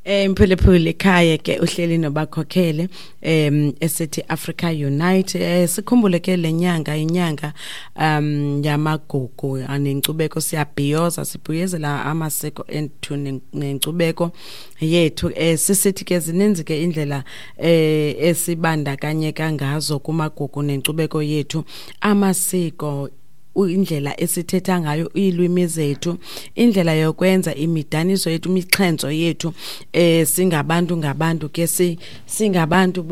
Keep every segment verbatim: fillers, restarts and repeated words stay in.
Eh Mphulaphuli ekhaya ke uhleli nobakhokhele em esithi Africa Unite. eh sikhumbule ke lenyanga, inyanga um yamagugu anenkcubeko. Siyabhiyoza, sibuyezela amasiko ethu nenkcubeko yethu. eh sisithi ke zininzi ke indlela eh esibandakanyeka ngazo kumagugu nenkcubeko yethu, amasiko, indlela esithetha ngayo, iilwimi zethu, indlela yokwenza imidaniso yethu, imixhentso yethu. eh singabantu ngabantu ke, singabantu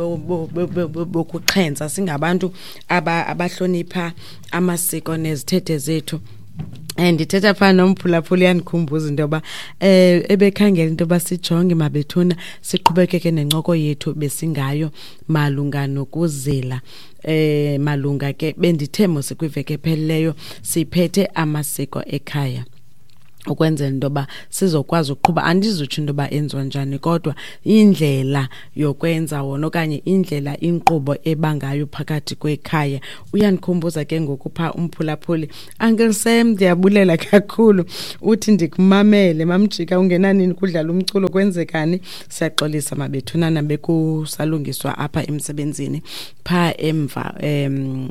bokuxhentsa, singabantu abahlonipha amasiko nezithethe zethu. Eh ndithetha phaa nomphulaphuli, yandikhumbuza into yoba eh ebekhangela into yoba sijonge mabethuna, siqhubekeke nencoko yethu besingayo malunga nokuzila. eh malunga ke bendithe mos kwiveki ephelileyo siphethe amasiko ekhaya ukwenzela into yoba sizokwazi ukuqhuba. Andizutsho into yoba enziwa njani, kodwa indlela yokwenza wona okanye indlela inkqubo ebangayo phakathi kwekhaya. Uyandikhumbuza ke ngoku phaa umphulaphuli, Uncle Sam, ndiyabulela kakhulu. Uthi ndikumamele mamjika, ungenanini kudlala umculo, kwenzekani? Siyaxolisa mabethunana, bekusalungiswa apha emsebenzini phaa emva. um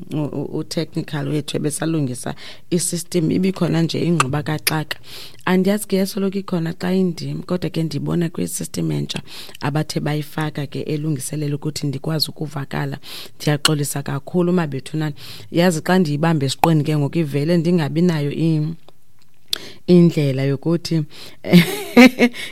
u-technical wethu ebesalungisa i-system, ibikhona nje ingxuba kaxaka. Andiyazi ke yasoloko ikhona xa indim, kodwa ke ndibona kwi-system entsha abathe bayifaka ke elungiselela ukuthi ndikwazi ukuvakala. Ndiyaxolisa kakhulu mabethunana, yazi xa ndiyibambe esiqweni ke ngoku ivele ndingabi nayo indlela yokuthi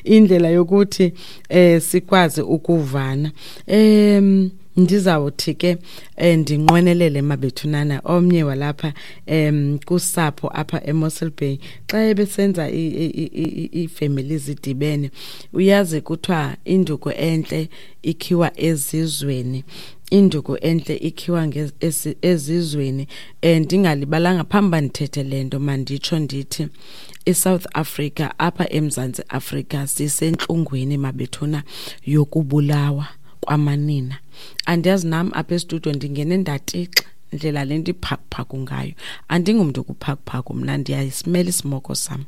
indlela yokuthi eh sikwazi ukuvana. em ndizawuthi ke eh, ndinqwenelele mabethunana omnye walapha em kusapho apha eMossel Bay xa ebesenza iifemeli zidibene. Uyazi kuthiwa induku entle ikhiwa ezizweni, induku entle ikhiwa ezizweni. um ndingalibalanga phambi uba ndithethe le nto, manditsho ndithi iSouth Africa, apha eMzantsi Afrika, sisentlungwini mabethuna yokubulawa kwamanina. Andiyazi nam apha estudiyo ndingene ndatixa ndlela le nto iphakuphaku ngayo. Andingumntu kuphakuphaku mna, ndiyayisimela isimoko sam.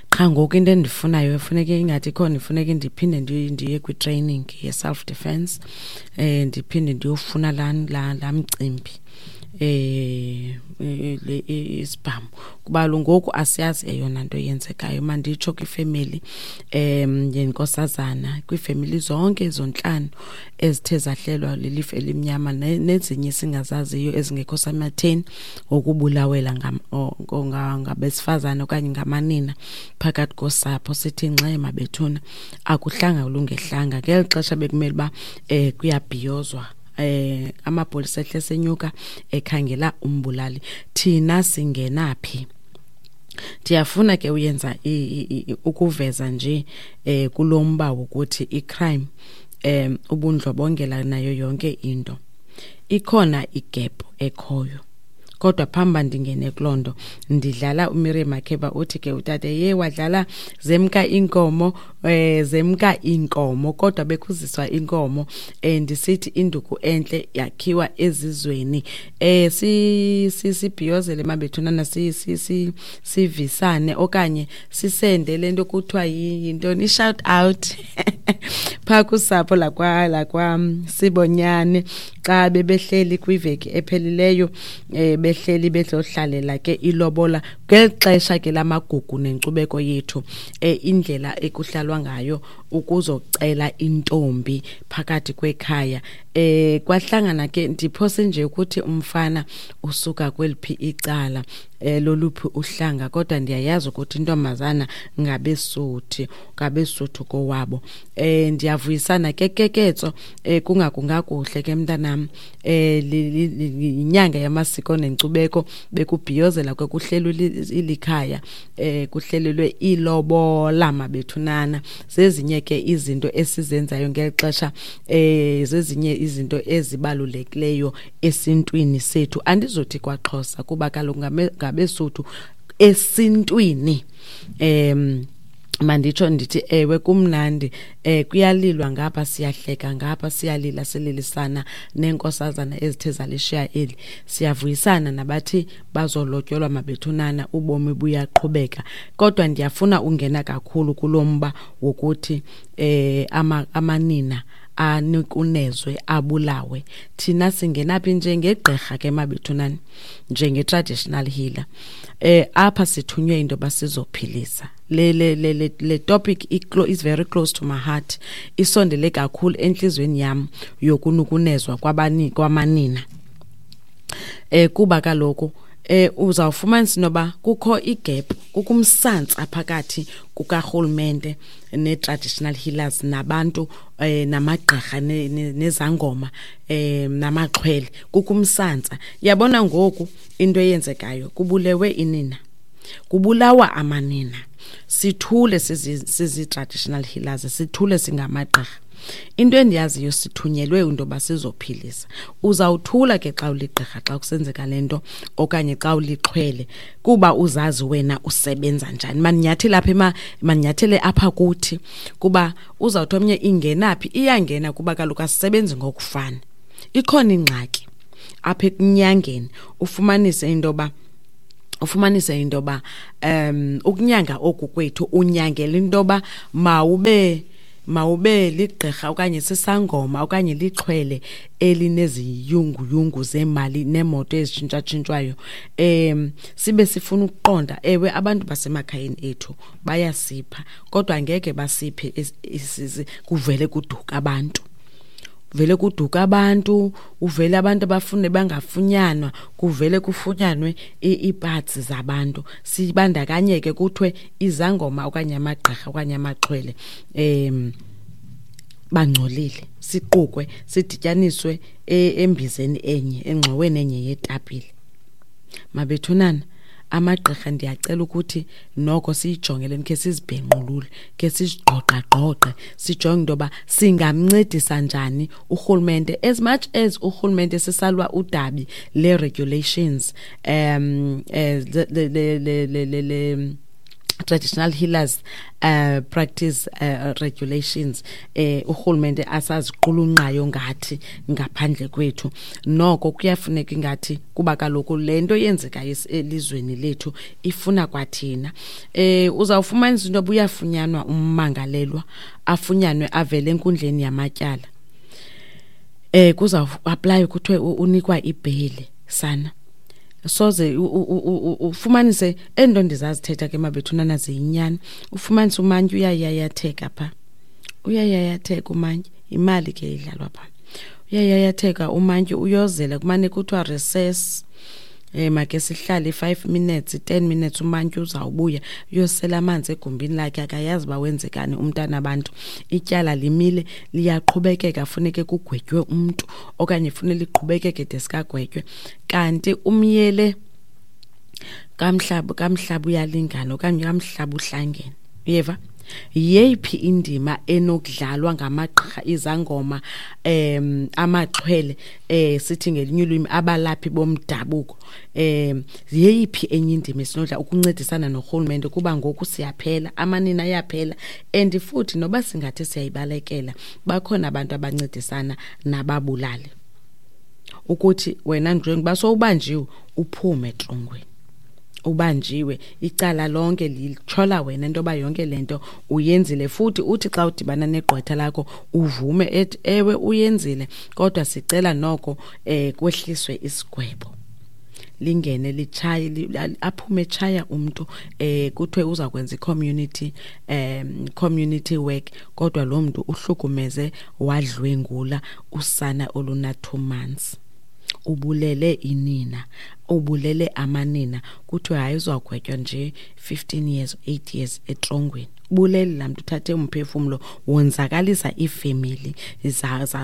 Qha ngoku into endifunayo efuneke ingathi ikhona, ifuneke ndiphinde ndiye kwi-training ye-self defense, um ndiphinde ndiyofuna laa laa laa mcimbi, eh le isibhamu, kuba ngoku asiyazi eyona nto yenzekayo. Manditsho kwifemeli em yenkosazana, kwiifemeli zonke zontlanu ezithe zahlelwa lilifu elimnyama nezinye singazaziyo ezingekho sematheni ngokubulawela ngabesifazane okanye ngamanina phakathi kosapho, sithi ngxe mabethuna, akuhlanga kulungehlanga. Ngeli xesha bekumele uba um kuyabhiyozwa, eh amapolisa ehle senyuka ekhangela umbulali, thina singena phi? Ndiyafuna ke uyenza ukuveza nje eh kulomba wokuthi i-crime, em ubundlobongela nayo yonke into, ikhona i-gap ekhoyo. Kodwa phambi ndingene kuloo nto, ndidlala uMiriam Makeba. Uthi ke utata ye wadlala zemka inkomo, eh zemka inkomo, kodwa bekuziswa inkomo. eh ndisithi induku entle yakhiwa ezizweni. eh si sibhiyozele mabethunana, si si sivisane okanye sisende lento kuthiwa yintoni, i-shout out phaa kusapho lakwa lakwa Sibonyane xa bebehleli kwiveki ephelileyo, eh behleli bezohlalela ke ilobola ngeli xesha ke lamagugu nenkcubeko yethu, eh indlela ekuhlalwa ngayo ukuzocela intombi phakathi kwekhaya. eh kwahlangana ke, ndiphose nje ukuthi umfana usuka kweliphi icala, eh loluphi uhlanga, kodwa ndiyayazi ukuthi intombazana ngabeSuthu, ngabesuthu kowabo. eh ndiyavuyisana ke keketso, eh kungakungakuhle ke mntanam. eh inyanga yamasiko nenkcubeko, bekubhiyozela ke, kuhlelwe ilikhaya, eh kuhlelelwe ilobola mabethunana. Zezinye ke izinto esizenzayo ngeli xesha, eh zezinye izinto ezibalulekileyo esintwini sethu. Andizothi kwaXhosa kuba kaloku ngabesuthu esintwini. em Manditsho ndithi ewe kumnandi, eh kuyalilwa ngapha, siyahleka ngapha, siyalila sililisana neenkosazana ezithe zalishiya eli, siyavuyisana nabathi bazolotyolwa mabethunana, ubomi buyaqhubeka. Kodwa ndiyafuna ungena kakhulu kulo mba wokuthi eh ama, amanina anukunezwe abulawe. Thina singenaphi njengegqirha ke mabethunana, njenge-traditional healer, eh apha sithunywe into yoba sizophilisa. Le le le le, le topic is very close to my heart, isondele kakhulu enhlizweni yam yokunukunezwa kwabani kwamanina. Eh kuba kaloku eh uzawufumanisa noba kukho igap, kukho umsantsa phakathi kukarhulumente ne-traditional healers nabantu eh namagqirha nezangoma eh namaxhwele, kukho umsantsa. Yabona ngoku into eyenzekayo, kubulewe inina, kubulawa amanina, sithule sizi-traditional healers, sithule singamagqirha. Into endiyaziyo, sithunyelwe into yoba sizophilisa. Uzawuthula ke xa uligqirha xa kusenzeka le nto, okanye xa ulixhwele, kuba uzazi wena usebenza njani. Mandinyathele apha, mandinyathele apha kuthi, kuba uzawuthi omnye ingenaphi, iyangena kuba kaloku asisebenzi ngokufana. Ikhona ingxaki apha ekunyangeni, ufumanise into yoba ufumanise into yoba um ukunyanga oku kwethu unyangela into yoba mawube mawube ligqirha okanye sisangoma okanye lixhwele elineziyunguyungu zemali neemoto ezitshintshatshintshwayo. Um sibe sifuna ukuqonda, ewe abantu basemakhayeni ethu bayasipha, kodwa angeke basiphe kuvele kuduka abantu. Vele kuduka abantu, uvele abantu abafune bangafunyanwa, kuvele kufunyanwe iiparts zabantu. Sibandakanyeke kuthiwe izangoma okanye amagqirha okanye amaxhwele em bangcolile, siqukwe sidityaniswe embizeni enye, engxoweni enye yetapile. Mabethunana, amagqirha ndiyacela ukuthi noko siyijongele, khe sizibhenqulule, khe sizigqoqagqoqe, sijonge into yoba singamncedisa njani urhulumente. As much as urhulumente sisalwa udabi le-regulations, um eh, le, le, le, le, le, le traditional healers uh, practice uh, regulations, eh urhulumente asaziqulunqayo ngathi ngaphandle kwethu, noko kuyafuneka ingathi kuba kaloku le nto yenzekayo elizweni lethu ifuna kwathina. Eh uzawufumanisa into yoba uyafunyanwa ummangalelwa, afunyanwe avele enkundleni yamatyala, eh kuzawu-apply kuthiwe unikwa ibheyile sana. Soze ufumanise ento ndizazithetha ke mabethunana ziyinyani. Ufumanise umantyi uyayayatheka pha, uyayayatheka umantyi, imali ke idlalwa pha, uyayayatheka umantyi, uyozela kumane kuthiwa recess, eh make sihlale five minutes, ten minutes, umantyi uzawubuya uyosela amanzi egumbini lakhe, akayazi uba wenzekani umntana abantu. Ityala limile, liyaqhubekeka, funeke kugwetywe umntu okanye fune liqhubekeke de sikagwetywe. Kanti umyele kamhlaba kamhlaba uyalingana okanye kamhlaba uhlangene. Uyeva? Yeyiphi indima enokudlalwa ngamagqirha, izangoma, em amaxhwele, eh sithi ngelinye ulwimi abalaphi bomdabuko, em yeyiphi enye indima esinodla ukuncedisana norhulumente? Kuba ngoku siyaphela, amanina ayaphela, and futhi noba singathi siyayibalekela, bakhona abantu abancedisana nababulali. Ukuthi wena njengoba sowubanjiwe uphume etrongweni, ubanjiwe icala lonke lichola wena into yoba yonke le nto uyenzile, futhi uthi xa udibana negqwetha lakho uvume ethi ewe uyenzile, kodwa sicela noko eh kwehliswe isigwebo, lingene litshaye, aphume etshaya umntu, eh kuthiwe uza kwenza i-community um community work, kodwa lo mntu uhlukumeze wadlwengula usana oluna two months, ubulele inina, ubulele amanina, kuthiwe hayi uzawugwetywa nje fifteen years, eight years etrongweni. Ubulele laa mntu, uthathe umphefumlo, wonzakalisa iifemeli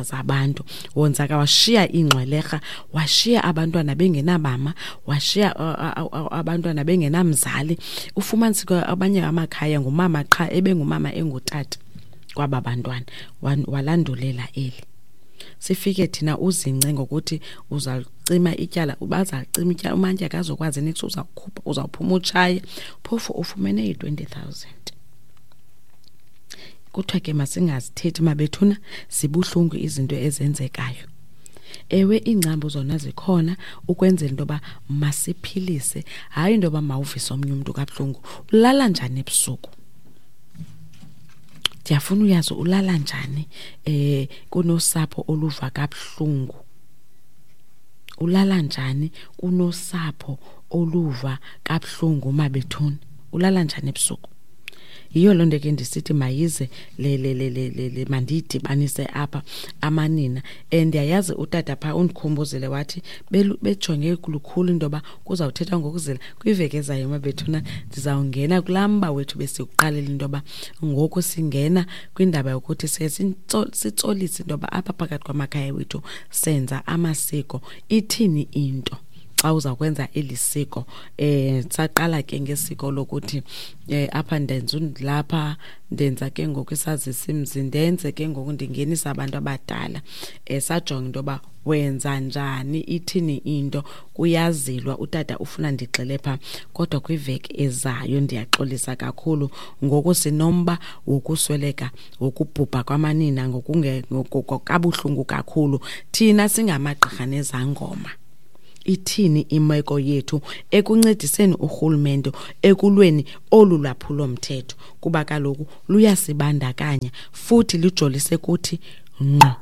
zabantu, wonzaka, washiya iingxwelerha, washiya abantwana bengenamama, washiya abantwana bengenamzali. Ufumanise abanye amakhaya ngumama qha, ebengumama engutata kwaba bantwana, walandulela eli. Sifike thina uzince ngokuthi uzalicima ityala, bazalicima ityala, umantyi akazokwazi niks, uzawukhupha, uzawuphuma utshaye, phofu ufumene i-twenty thousand. Kuthiwa ke masingazithethi mabethuna, zibuhlungu izinto ezenzekayo. Ewe, iingcambu zona zikhona ukwenzela into yoba masiphilise, hayi into yoba mawuvise omnye umntu kabuhlungu. Ulala njani ebusuku? Ndiyafuna uyazi ulala njani eh kunosapho oluva kabuhlungu. Ulala njani kunosapho oluva kabuhlungu mabethuna? Ulala njani ebusuku? Yiyo loo nto ke ndisithi mayize le le le le le, le mandiyidibanise apha amanina. And ndiyayazi utata phaa undikhumbuzile wathi bejonge lukhulu into yoba kuzawuthethwa ngokuzila kwiveki ezayo mabethuna. Ndizawungena kulaa mba wethu besikuqalela into yoba ngoku singena kwindaba yokuthi siye sitsolise into yoba apha phakathi kwamakhaya wethu senza amasiko. Ithini into xa uza kwenza eli siko? Eh saqala ke ngesiko lokuthi eh apha ndenza lapha ndenza ke ngoku isazisi mzi, ndenze ke ngoku ndingenisa abantu abadala. Eh sajonga into yoba wenza njani, ithini into, kuyazilwa. Utata ufuna ndigxile pha, kodwa kwiveki ezayo ndiyaxolisa kakhulu. Ngoku sinomba wokusweleka, wokubhubha kwamanina ngokunge kabuhlungu kakhulu. Thina singamagqirha nezangoma, ithini imeko yethu ekuncediseni urhulumente ekulweni olu lwaphulomthetho? Kuba kaloku luyasibandakanya futhi lijolise kuthi ngqo.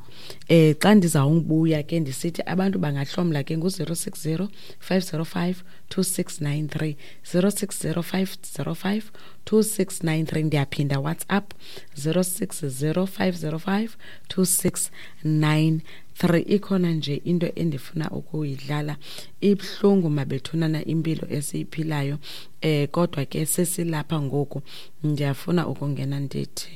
Eh xa ndizawubuya ke ndisithi abantu bangahlomla ke ngu-zero six zero five zero five two six nine three, zero six zero five zero five two six nine three. Ndiyaphinda, WhatsApp zero six zero five zero five two six nine three. Ikhona nje into endifuna ukuyidlala, ibuhlungu mabethunana impilo esiyiphilayo, eh kodwa ke sesilapha ngoku. Ndiyafuna ukungena ndithi